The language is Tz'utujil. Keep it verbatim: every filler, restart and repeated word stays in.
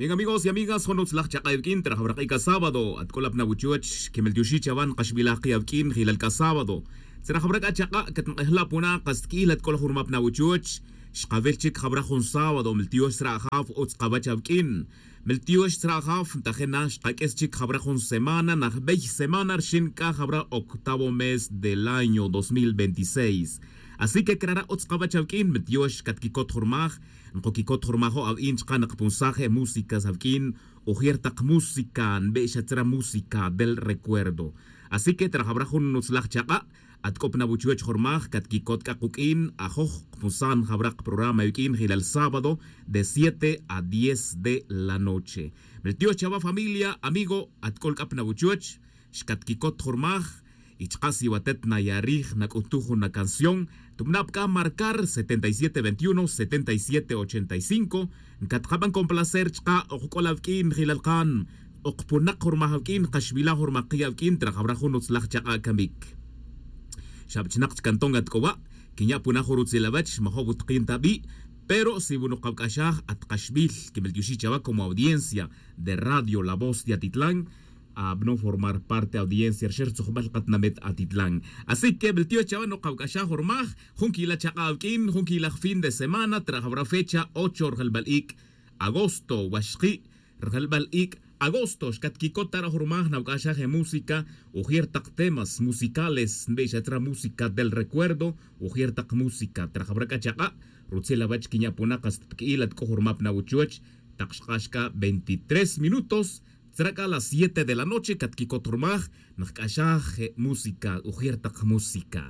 Bien, amigos y amigas, jun utzlaj chak'a' awik'in trajawra k'i' c'a sábado atk'ol apna wuchuwech. Kimiltioxi' chawa nkaxbilaj k'i' awik'in jilal k'a sábado. Tzrajawra k'a chak'a' catnk'ejla' puna' kas tki'il atk'ol jun rma apna wuchuwech. Xkawil chik jawra jun sábado miltiox tzra' ajaw utz kawech awik'in. Miltiox tzra' ajaw ntaje' na xkak'is chik jawra jun semana najbey semana rxin k'a jawra octavo mes del año dos mil veintiséis. Así que crara' utz kawech awik'in miltiox catkicot jun rmaj. Nkukicot jun rmajo' awin chka' nkpunsaj e músicas awik'in. Ujier tak música nbe' xa tzra' música del recuerdo. Así que trajawra jun nutzlaj chak'a' atk'opna wuchuwech jun rmaj catquicot c'a kuk'in ajoj kpusan jawra kprograma awik'in jilal sábado de siete a diez de la noche. Miltiox chawa familia amigo atk'ol c'a pna wuchuwech. Xcatquicot jun rmaj y chka' si watet naya' rij nac'utuj jun acanción. Tubna' pc'a marcar setenta y siete veintiuno setenta y siete ochenta y cinco. Ncatkaban con placer chka' okc'ol awik'in jilal kan okpunak' jun rmaj awik'in kaxwila' jun rmaj ki' awik'in trajawra jun utzlaj chak'a' camic. Xabchnak chka' nton atc'owa' quinya' puna' jun rutzil awech majo' wutkin ta bi'. Pero si wunuk awc'axaj at kaxbil quimiltioxi' chawa como audiencia de radio la voz de atitlan. Abno formar parte audiencia rxer tzujbal katnamet atitlan. Así que miltiox chawa nukawc'axaj jun rmaj jun quila' chak'a' awik'in jun quilaj fin de semana trajawra fecha ocho rjelbal ic' agosto waxki'. Rjelbal ic' agosto xcatquicot ta ra' jun rmaj nawc'axaj e música ujier tak temas musicales nbe' xa tzra' música del recuerdo. Ujier tak música trajawra c'a chak'a' rutzil awech quinya' puna' kas tpqui'il atc'o jun rmaj pna wuchuwech. Tak xk'ax c'a veintitrés minutos tzra' c'a las siete de la noche catquicot jun rmaj. Nkc'axaj e música ujier tak música.